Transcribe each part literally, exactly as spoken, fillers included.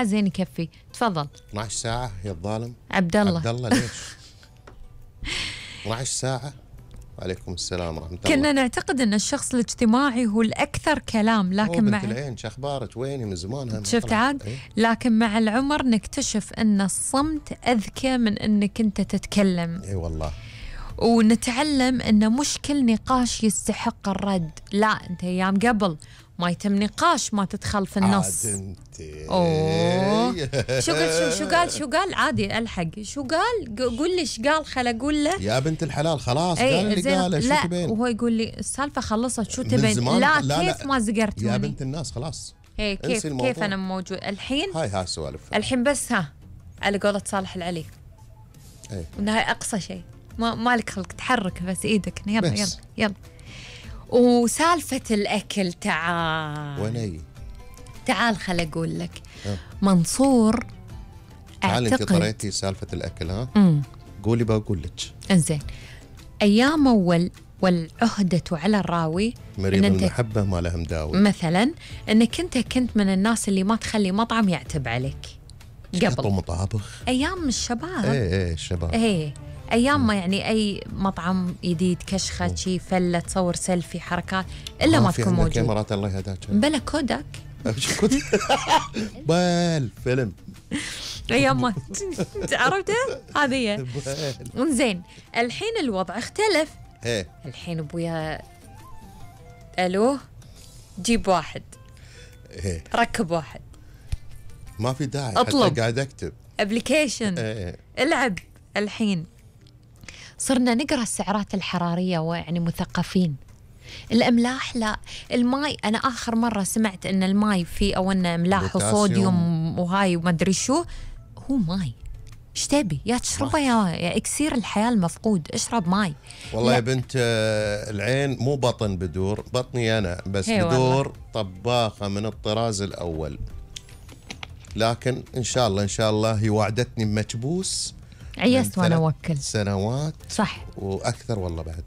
ساعة زين يكفي. تفضل. اثنعش ساعة يا الظالم عبد الله. عبد الله ليش؟ اثنعش ساعة. وعليكم السلام ورحمة الله. كنا نعتقد ان الشخص الاجتماعي هو الاكثر كلام، لكن مع العين شو اخبارك ويني من زمان. شفت عاد؟ ايه؟ لكن مع العمر نكتشف ان الصمت اذكى من انك انت تتكلم. اي والله. ونتعلم ان مش كل نقاش يستحق الرد. لا، انت ايام قبل ما يتم نقاش ما تدخل في النص. عاد انت. اوه شو قال شو, شو قال شو قال عادي الحق. شو قال؟ قول لي ايش قال خل اقول له. يا بنت الحلال خلاص قال اللي قاله. شو لا تبين؟ وهو يقول لي السالفه خلصت شو تبين. لا, لا كيف لا. ما زقرتوني يا بنت الناس خلاص. هي كيف كيف انا موجود الحين. هاي ها سوالف الحين بس ها على قولة صالح العلي. ايه وانها اقصى شيء ما مالك خلق تحرك بس ايدك. يلا يلا يلا. وسالفة الأكل تعال ويني تعال خل أقول لك. أه. منصور تعال أعتقد أنت طريتي سالفة الأكل ها. مم. قولي بقول لك. إنزين أيام أول والعهدة على الراوي مريض المحبة ما له مداوي. مثلا أنك أنت كنت من الناس اللي ما تخلي مطعم يعتب عليك قبل مطابخ أيام الشباب. إيه إيه الشباب إيه ايام ما يعني اي مطعم جديد كشخه شي فله تصور سيلفي حركات الا ما تكون موجود. كاميرات الله يهداك. بلا كودك. بال فيلم ايام ما عرفته هذه. زين الحين الوضع اختلف. ايه الحين ابويا الو جيب واحد. ايه ركب واحد. ما في داعي اطلب قاعد اكتب ابلكيشن. ايه العب. الحين صرنا نقرأ السعرات الحرارية ويعني مثقفين. الأملاح لا. الماي أنا آخر مرة سمعت أن الماي فيه أو أن أملاح وصوديوم وهاي وما أدري شو. هو ماي. إيش تبي يا تشربه يا, يا إكسير الحياة المفقود. اشرب ماي. والله لا. يا بنت العين مو بطن بدور بطني أنا بس بدور والله. طباخة من الطراز الأول. لكن إن شاء الله إن شاء الله هي وعدتني بمكبوس. عيست وانا اوكل سنوات صح واكثر والله بعد.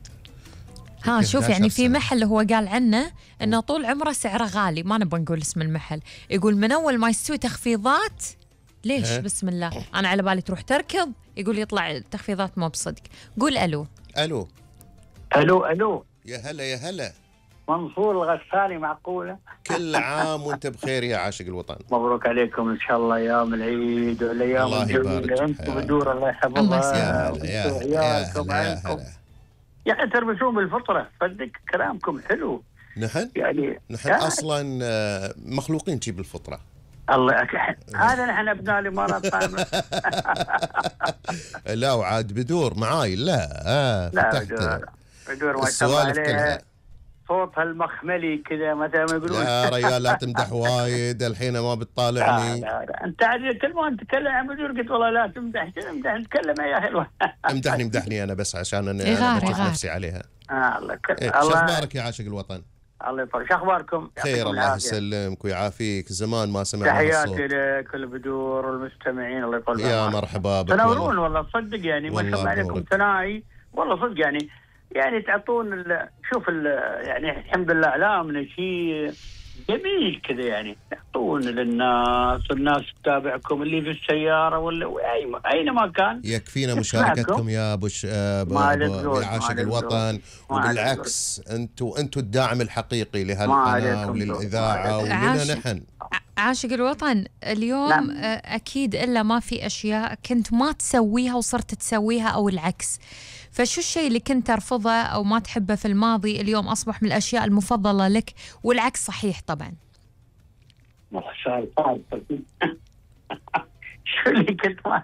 ها شوف يعني في محل هو قال عنه انه طول عمره سعره غالي ما نبغى نقول اسم المحل. يقول من اول ما يستوي تخفيضات ليش ها؟ بسم الله انا على بالي تروح تركض. يقول يطلع تخفيضات مو بصدق. قول الو. الو الو الو يا هلا يا هلا. منصور الغسالي معقولة. كل عام وانت بخير يا عاشق الوطن. مبروك عليكم ان شاء الله ايام العيد والايام الجميله. انتم بدور الله يحفظها. يا هلا يا هلا يا هلا. يعني تربسون بالفطره صدق كلامكم حلو. نحن يعني نحن اصلا مخلوقين شي بالفطره. الله أكحل. هذا نحن ابناء الامارات كامله. لا وعاد بدور معاي لا آه لا فتحت بدور بدور ما شاء الله عليه. صوتها المخملي كذا مثل ما يقولون. لا ريال لا تمدح وايد الحين ما بتطالعني. لا لا, لا. انت عاد كل ما نتكلم عن بدور قلت والله لا تمدح امدح نتكلم يا حلوه. امدحني امدحني انا بس عشان انا, أنا بشوف نفسي عليها. اه الله كل إيه شو اخبارك يا عاشق الوطن؟ الله يطول. شو اخباركم؟ خير الله يسلمك ويعافيك. زمان ما سمعنا تحياتي لك البدور والمستمعين الله يطول بعمرك. يا مرحبا بك. تنورون والله تصدق يعني ما شاء الله عليكم ثنائي والله صدق يعني يعني تعطون ال شوف ال يعني الحمد لله اعلامنا شيء جميل كذا يعني تعطون للناس والناس تتابعكم اللي في السياره ولا اي اينما كان. يكفينا مشاركتكم يا ابو ش... ابو عاشق الوطن. وبالعكس انتم انتم الداعم الحقيقي لهالقناه وللاذاعه ولنا نحن. عاشق الوطن اليوم لا. اكيد الا ما في اشياء كنت ما تسويها وصرت تسويها او العكس. فشو الشيء اللي كنت ترفضه أو ما تحبه في الماضي اليوم أصبح من الأشياء المفضلة لك والعكس صحيح طبعا؟ والله سؤال صعب. شو اللي كنت ما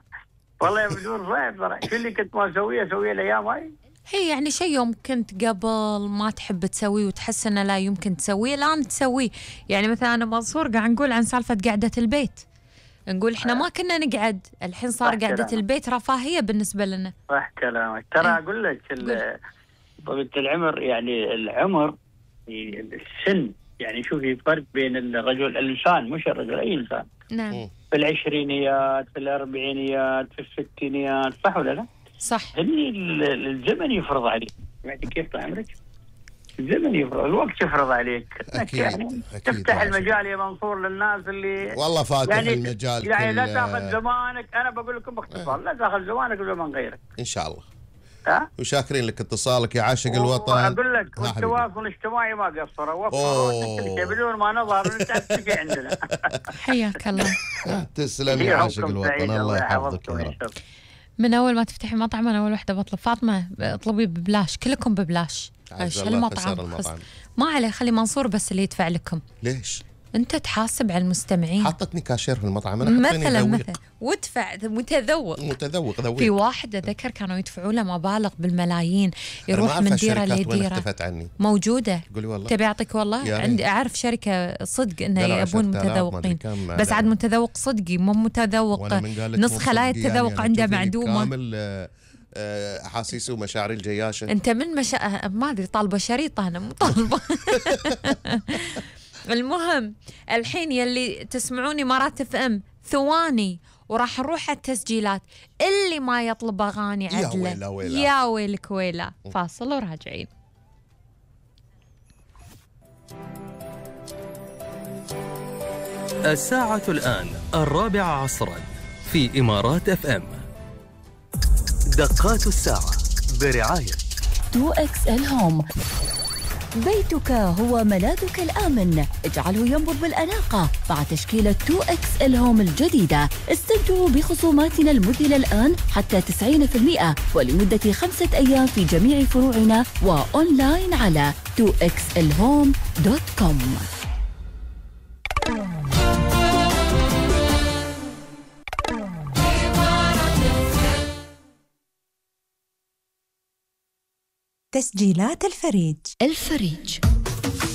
والله بدون صعب ترى. شو اللي كنت ما أسويه أسويه الأيام هاي؟ هي يعني شيء يوم كنت قبل ما تحب تسويه وتحس إنه لا يمكن تسويه الآن تسويه. يعني مثلا أنا منصور قاعد نقول عن سالفة قعدة البيت. نقول احنا ما كنا نقعد الحين صار قعدة البيت رفاهية بالنسبة لنا. صح كلامك. ترى اقول لك طبيعة العمر يعني العمر السن يعني شوفي فرق بين الرجل الانسان مش الرجل اي انسان. نعم. في العشرينيات في الاربعينيات في الستينيات صح ولا لا؟ صح. هني الزمن يفرض عليك. سمعتي كيف طال عمرك؟ الزمن يفرض، الوقت يفرض عليك. أكيد. يعني أكيد تفتح المجال يا منصور للناس اللي والله فاتح يعني المجال. يعني لا تاخذ زمانك، انا بقول لكم باختصار لا تاخذ زمانك وزمان غيرك ان شاء الله. ها وشاكرين لك اتصالك يا عاشق الوطن. اقول لك والتواصل الاجتماعي ما قصر، وفر بدون ما نظهر نتعب عندنا. حياك الله. تسلم يا عاشق الوطن، الله يحفظك يا رب. من اول ما تفتحي مطعم انا اول وحده بطلب فاطمه اطلبي ببلاش، كلكم ببلاش. هالمطعم ما عليه، خلي منصور بس اللي يدفع لكم. ليش؟ انت تحاسب على المستمعين. حطتني كاشير في المطعم انا، مثلا مثلا وادفع متذوق متذوق ذويق. في واحد ذكر كانوا يدفعوا له مبالغ بالملايين، يروح من ديره لديره. موجوده. قولي والله. تبي اعطيك والله، عندي اعرف شركه صدق انه يبون متذوقين، بس عاد متذوق صدقي مو متذوق نص خلايا التذوق يعني عنده معدومه. كامل احاسيس ومشاعر الجياشه. انت من مشا... ما ادري طالبه شريطه، انا مو طالبه. المهم الحين يلي تسمعوني مرات اف ام ثواني وراح نروح على التسجيلات. اللي ما يطلب اغاني عدله يا ويلا ويلا. يا ويلك ويلا. فاصل وراجعين. الساعة الآن الرابعة عصرا في إمارات اف ام. دقات الساعة برعاية تو إكس إل هوم. بيتك هو ملاذك الآمن، اجعله ينبض بالأناقة مع تشكيلة تو إكس إل هوم الجديدة. استمتعوا بخصوماتنا المذهلة الآن حتى تسعين بالمئة ولمدة خمسة أيام في جميع فروعنا وأونلاين على تو إكس إل هوم دوت كوم. تسجيلات الفريج. الفريج